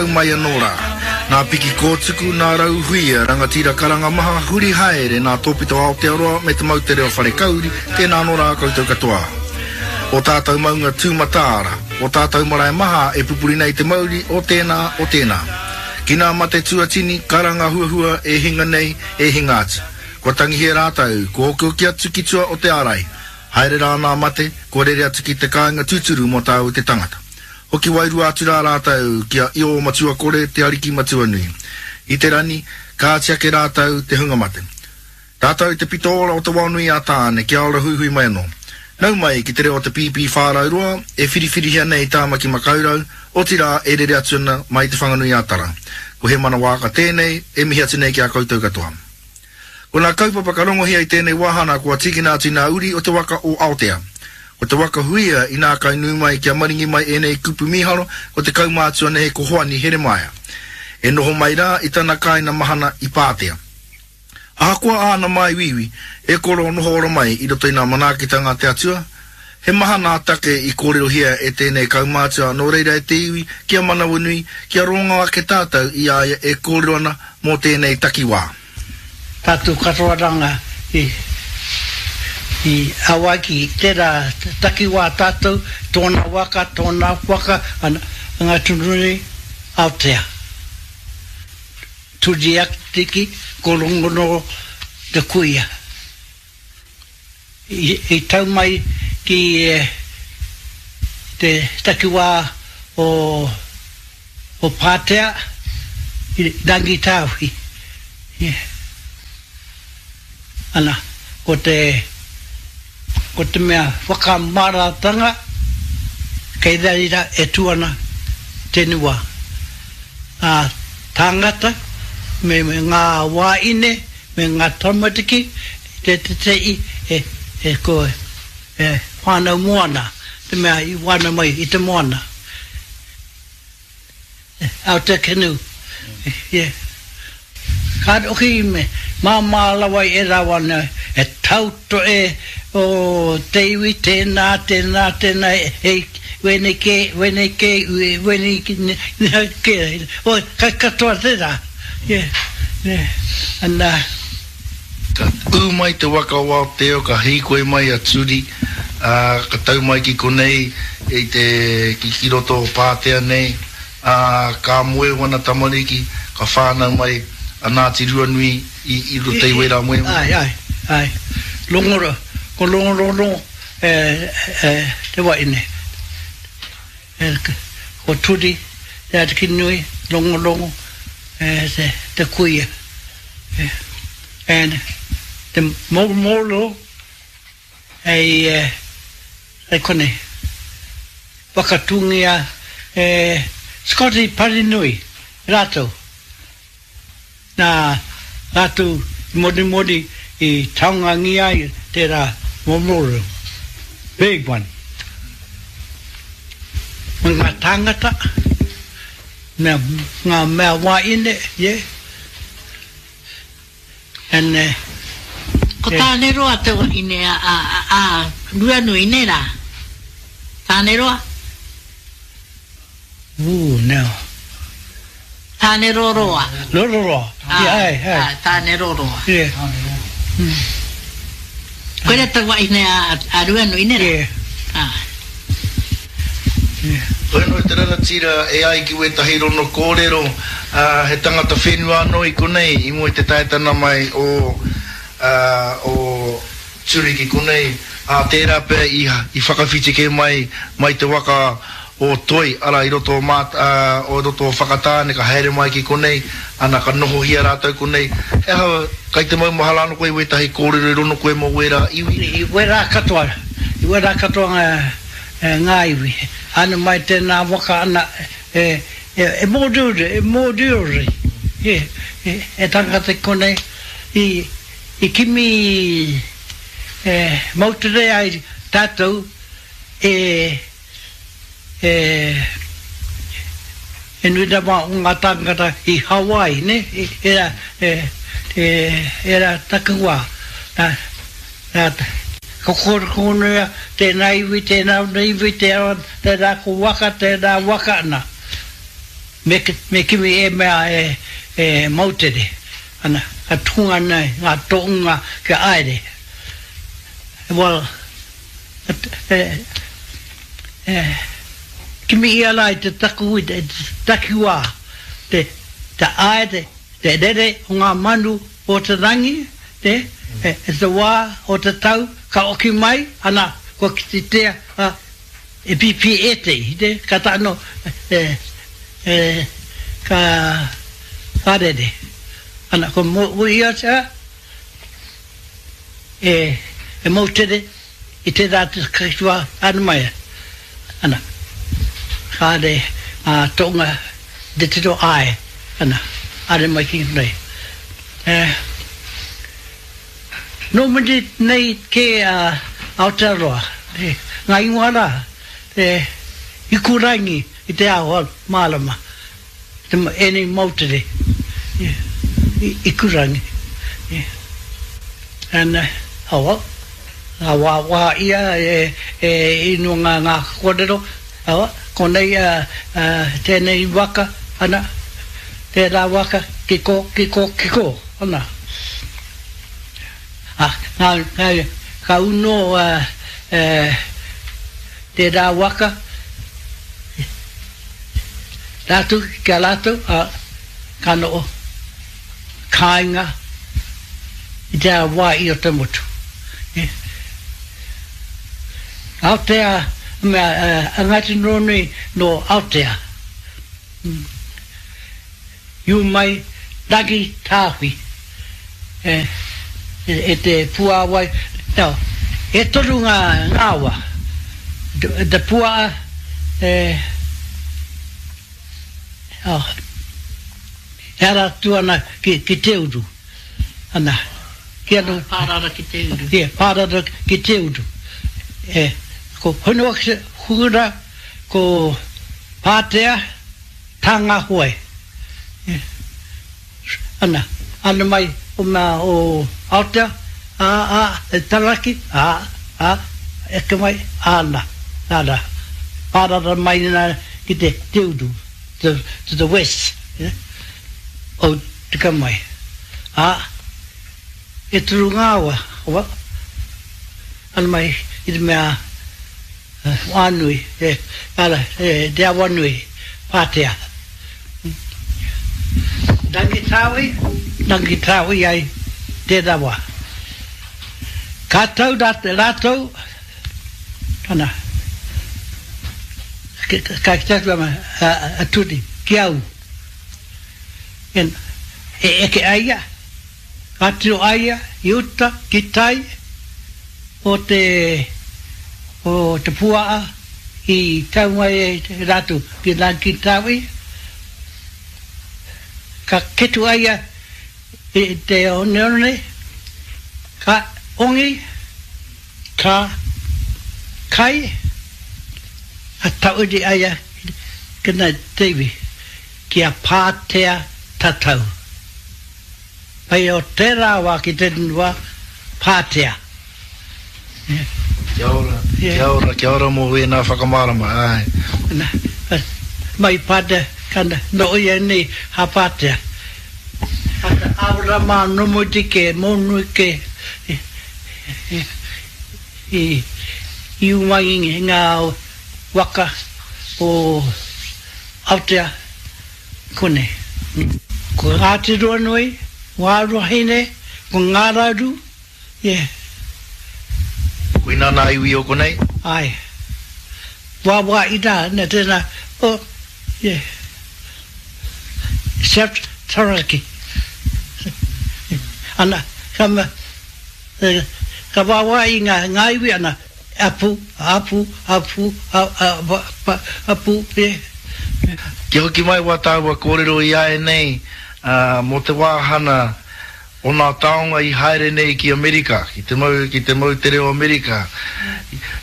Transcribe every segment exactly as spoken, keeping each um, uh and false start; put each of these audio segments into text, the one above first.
Mai anō rā. Nā Piki Kōtuku, nā Rauhuia, rangatira karanga maha, huri haere, nā Tōpito Aotearoa me te moutere o Wharekauri, tēnā anō rā koutou katoa. O tātou maunga tūmataara, o tātou marae maha e pupuri nei te mauri o tēnā, o tēnā. Ki nā mate tuatini, karanga huahua e hinga nei, e hinga atu. Kua tangihia rātou, kua okioki atu ki tua o te ārai. Haere rā nā mate, kua rere atu ki te kāinga tūturu mō tāu te tangata. Hoki wairua atu rā rātou ki a Io Matua Kore te Ariki Matua Nui. I te rani, kāti ake rātou te hunga mate. Tātou te pito ora o te waonui a Tāne, kia ora huihui mai anō. Nau mai ki te reo o te pīpī whārau roa, e whiriwhirihia nei Tāmaki Makaurau, otirā e rere atu ana mai Te Whanganui a Tara. Ko Hemana Waaka tēnei, e mihi atu nei ki a koutou katoa. Ko nā kaupapa ka rongohia i tēnei wāhana kua tīkina atu i nā uri o te waka o Aotea. Ko te waka huia i nā kai nui mai kia maringi mai ēnei kupu mīharo ko te kaumātua nehe ko Hoani Heremaia. E noho mai rā i tana kāina mahana i Pātea. Ahakoa āna māiwiwi, e koro noho ora mai i roto i nā manaakitanga a te Atua, he maha nā take i kōrerohia e tēnei kaumātua nō reira e te iwi kia manawanui, kia rongo ake tātou i a ia e kōrero ana mō tēnei takiwā. Tātou katoa ranga i, i Hawaiki, tērā takiwā tātou, tōna waka, tōna waka, ana, ngā tunui Aotea. Turiatiki, ko Rongorongo te kuia. I, i tau mai ki eh, te takiwā o, o Pātea, i Rangitāwhi. Yeah. Ana, ko te, ko te mea whakamaratanga, kei reira e tū ana te niwa. Ngā tāngata, me, me ngā wāine, me ngā tamariki, te te te i, e, e, ko, e whānau moana, te mea i wānau mai i te moana. Aotea canoe. Yeah. Ka oki me māmā rawa i e rawa nei, e tauto e o te iwi, tēnā, tēnā, tēnā, e, wene ke, wene ke, wene ke, o, kai katoa tērā. Yeah, yeah. Ana, Ka ū mai te waka o Aotea, ka hīkoi mai a Turi, ā, ka tau mai ki konei i te, ki, ki roto o Pātea nei, ā, ka moe wana tamariki, ka whānau mai a Ngāti Ruanui i, i roto i wērā moe. Ai, ai, ai. Rongoro, ko Rongorono e, e, te waine. E, ko Turi, te Ariki nui, Rongorongo, e, te, te kuia. E, and te moromoro ei, e, e konei. Whakatūngia e Scotty Parinui, rātou. Nā rātou i morimori i taungangia ai tērā memorial. Big one. Me ngā tāngata, mea, ngā mea wāine, yeah. And, uh, Ko Tāneroa te wahine a, a, a, a Ruanui, nē rā? Tāneroa? Ooh, no. Tāneroroa. Rororoa. Ah, Yeah, ai, ai. ah, Tāneroroa. Yeah. Koira te wahine a, a Ruanui, nē rā? Yeah. Ah. Yeah. Koe no te rangatira e ai ki wētahi rono kōrero, uh, he tangata whenua anō i konei, i mua i te taetana mai o, uh, o Turi ki konei, a tērā pea i, i whakawhiti kē mai, mai te waka o Toi, ara i roto o, Māt, uh, o roto o Whakatāne, ka haere mai ki konei, ana ka nohohia rātou konei. He aha, kai te maumahara anō koe i wētahi kōrero i rono koe mō wērā iwi? I wērā katoa, i wērā katoa ngā, e, ngā iwi. Ana mai tēnā waka ana, e, e, e mōriori, e mōriori. E, e, e tangata i konei, i, i kimi e, moutere ai tātou e, e, e nui rawa o ngā tāngata i Hawaii, ne? I, era, e, e, era takiwā. Nā, nā, ko kōrero tēnā iwi, tēnā iwi, tēnā, tēnā ko waka, tēnā waka ana. Me, me kimi e mea e, e moutere. Ana, ka tunga nei, ngā toʻunga kia aere. Well, e, e, kimi ia la i te taku, i te takiwā, te, te aere, te rere o ngā manu o te rangi, te, e, e te wā o te tau, ka oki mai, ana, kua kitea, a, e pipi e te, te, ka tāno, e, e, ka, ka rere. Ana, ko mo ia te, e, e moutere, i te rā te kakiwa anu mai. Ana, ka re, a tonga, te tiro ai, ana, are mai ki nei. E, no muri nei ke a Aotearoa, e, ngā ingoa rā, e, ikurangi i te ao mārama, te ēnei moutere, e, ikurangi. E, and, oh, well, ngā wā wā ia e, e inu ngā ngā kōrero, oh, konei uh, uh, tēnei waka, ana, tērā waka, ki ko, ki ko, ki ko, ana. Ah, ngā, ngā, ka uno uh, uh, tērā waka, rātou, kia rātou, uh, ka no'o kāinga i te wā i o te motu. Yeah. Aotea, mea, uh, a Ngāti Ruanui no Aotea. Mm. Iu mai Rangi Tāwhi e, e, e te puāwai. No, e toru ngā ngāwa. Te, te pua e, oh, e ara atu ana ki, ki te uru. Ana, ki anu, Pārara ki te uru. Ie, pārara ki te uru. E, ko Honua Hura, ko Pātea, Tāngahoe. E, ana, ana mai o mea o Aotea, a, a, e taraki, a, a, eke mai, ana, ana, pārara mai nā ki te, te uru, to, to the west, yeah? O tika mai. A, e turu ngāwa, wa, ana mai i te mea wānui, e, ara, e, te awanui, Pātea. Rangitāwi, Rangitāwi ai te rawa. Ka tau rātou, ana, ka ki tātou ama, a, a turi, ki au. En, e eke aia, ka tiro aia, i uta, ki tai, o te, o te puaa, i tau mai e rātou, ki Rangitāwi, ka ketu aia i te oneone, ka ongi, ka kai, a tauri aia ki nā te iwi, ki a Pātea tatau. Pai o tērā wā ki te wā, Pātea. Kia ora, Yeah. kia ora, kia ora mō wēnā whakamārama, ai. Na, mai Pātea, kana, no ia nei ha Pātea. Ata awara mā nomoiti ke, mōnui ke, i, i, i umangi ngā waka o Aotea kone. Ko Ngāti Ruanui, ngā Ruahine, ko Ngā Rauru, yeah. Koina nā iwi o konei? Ai. Wā wā i rā, nā tēnā, oh, yeah. Except Taranaki. Ana, ka ma, eh, ka wā wā i ngā, ngā iwi ana, apu, apu, apu, a, a, a, a, apu, yeah. Kia hoki mai wā tāua kōrero i ae nei, uh, mō te wāhana o nā taonga i haere nei ki Amerika, ki te mau, ki te moutere o Amerika.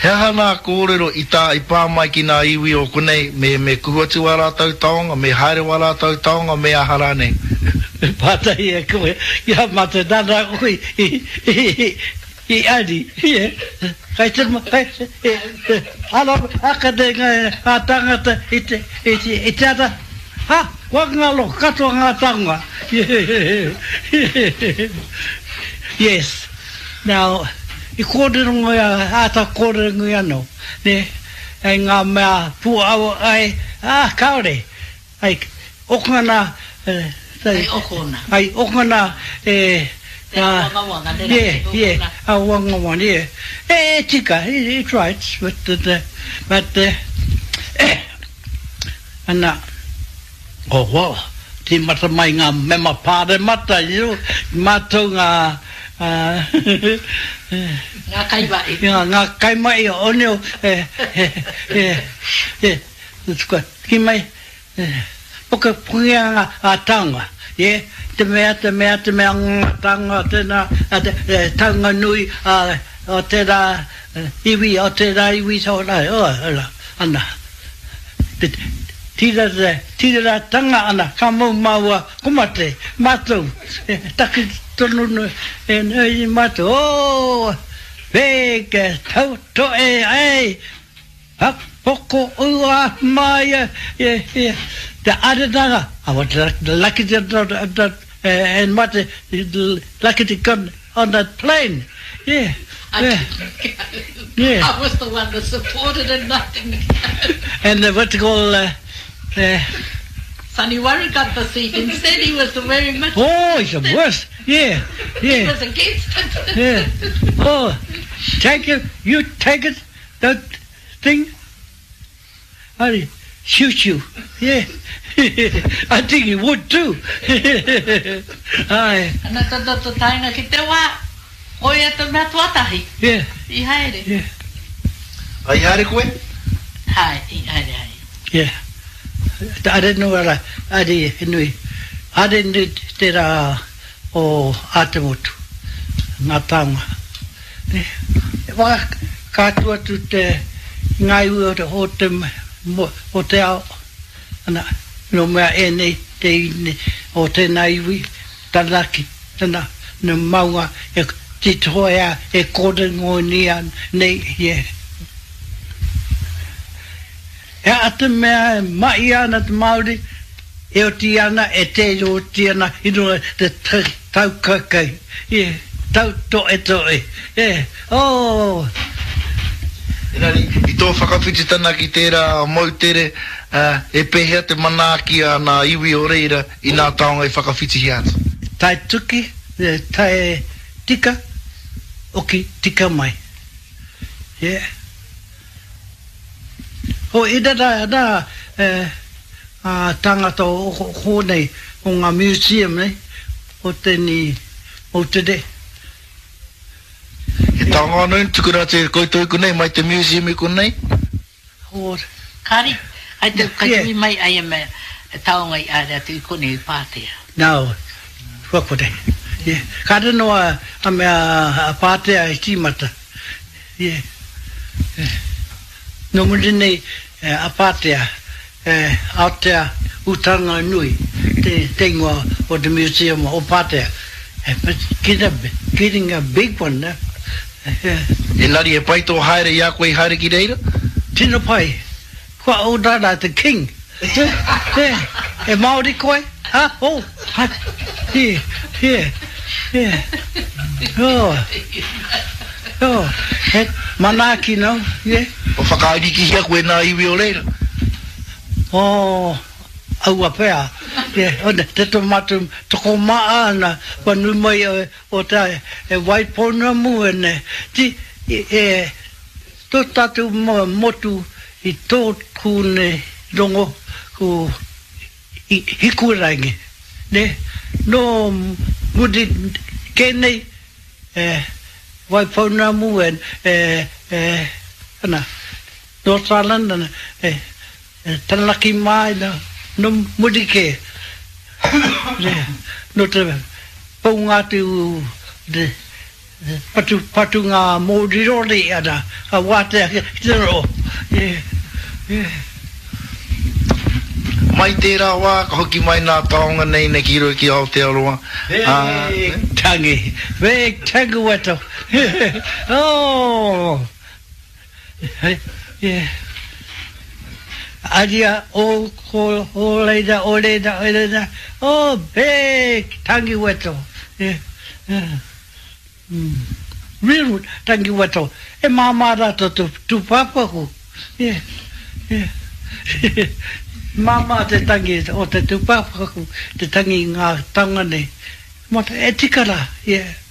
He aha nā kōrero i tā i pā mai ki nā iwi o konei, me, me kuhu atu wā rātou taonga, me haere wā rātou taonga, me aha rānei? Pātai e koe, ia mā te nana koe i, i, i, i ari. Kai te, kai, e, e, ara, aka te ngā, ngā tāngata i te, i te, i te ara, Ha, kua ngalo katoa ngā taonga. Yes. Now, i kōrero ngoi, āta kōrero ngoi anō, ne, e ngā mea pūawa ai, ah, kāore, ai, okona, eh, Ai okona. Ai okona, e, Te awangawanga, ne yeah, rā, te yeah, okona. awangawanga, yeah. E, e tika, it's right, but, uh, but, uh, ana, oh, well, tīmata mai ngā mema pāremata, you know, mātou ngā, uh, Ngā kaimahi. Ngā, ngā kaimahi o neo, e, e, e, e, ki mai, e, poka pungia ngā a taonga, yeah, te mea, te mea, te mea ngā taonga, tēnā, a te, e, taonga nui, a, o tērā iwi, o tērā iwi, so, la, o, la, ana, te, tira, tira tanga ana, ka mau māua, ko mate, mātou, e, taki tonu, e, e, mātou, oh, Weke, tau toe, ai, ha, poko ua mai, e, e, te aretanga, I was lucky to, and mate, lucky to get on that plane. Yeah. I Yeah. didn't go. Yeah. I was the one that supported and nothing. And the what you call, uh, uh, Sonny Warren got the seat instead. He was very much. oh, it's the worst. Yeah, He yeah, was against it. yeah. Oh, take it, you take it, that thing. I shoot you. Yeah. I think he would too. Aye. Ana tō tō taenga ki te wā, koia te mea tuatahi, Yeah, i haere. yeah, Ai haere koe? Hai, i haere, hai. yeah. Te are nui ara, are nui. Are nui te rā o Ātemotu, ngā taonga. Ne? Wā, ka atu atu te ngā iwi o te, o te, mo, o te ao. Ana, no mea e nei, te ine, o tēnā iwi, tanaki, tana, no maunga, e titoea, e kōrengo ni an, nei, yeah. E a te mea e mai ana te Māori, e oti ana, e te oti ana, i runga te tau kakai, yeah, tau toe toe, yeah, oh. Engari, i tō whakawhititana ki tērā moutere, uh, e pēhea te manaaki a ngā iwi o reira i ngā taonga i whakawhitihia atu? Tae tuki, e, tae tika, oki tika mai. Yeah. O, i rā, rā, eh, a tangata o o nei, o ngā museum nei, o tēni moutere. He taonga anō tukuna atu e koutou i konei, mai te museum i konei? O, Kāri, ai te Yeah. kai mai ai e mea, e taonga i aere atu i konei i Pātea. Nā, kua kore. Yeah. Kāre noa a mea a Pātea i tīmata. Yeah. Yeah. Nō muri nei a Pātea, eh, Aotea Utanga Nui, te, te ingoa o te museum o Pātea. Eh, but get a, getting a big one, eh? Yeah. Engari, e pai tō haere i a koe i haere ki reira? Tino pai. Kua o rara te king. Te, te, e Māori koe? Ha? Oh, ha. Yeah, yeah, yeah. Oh, oh. He manaaki no, yeah. O whakaarikihia koe nā iwi o reira? Oh, aua pea. Yeah, o te tō mātou toko maa ana, kua nui mai o, o te e Waipounamu e ne. Ti, e, e, tō tātou motu i tō kūne rongo ku i, hikurangi. Ne? No muri ke nei e, Waipounamu e, e, e, ana, North Island, ana, e, e, Taranaki mai, no, no muri ke. Ne, no te paunga atu te, te patu, patu ngā mōrirori ana, a wātea ki te ro. Yeah, yeah. Mai tērā wā, ka hoki mai nā taonga nei nei ki roto ki Aotearoa. Ah, Big tangi, big tangi weto. Oh, yeah. Aria o ko o leira o leira o leira oh big tangi weto. Yeah. Yeah. Mm. Real tangi weto. E māmā rā to tūpāpaku. Yeah. Yeah. Māmā te tangi o te tūpāpaku, te tangi ngā taonga nei. E tika rā. Yeah.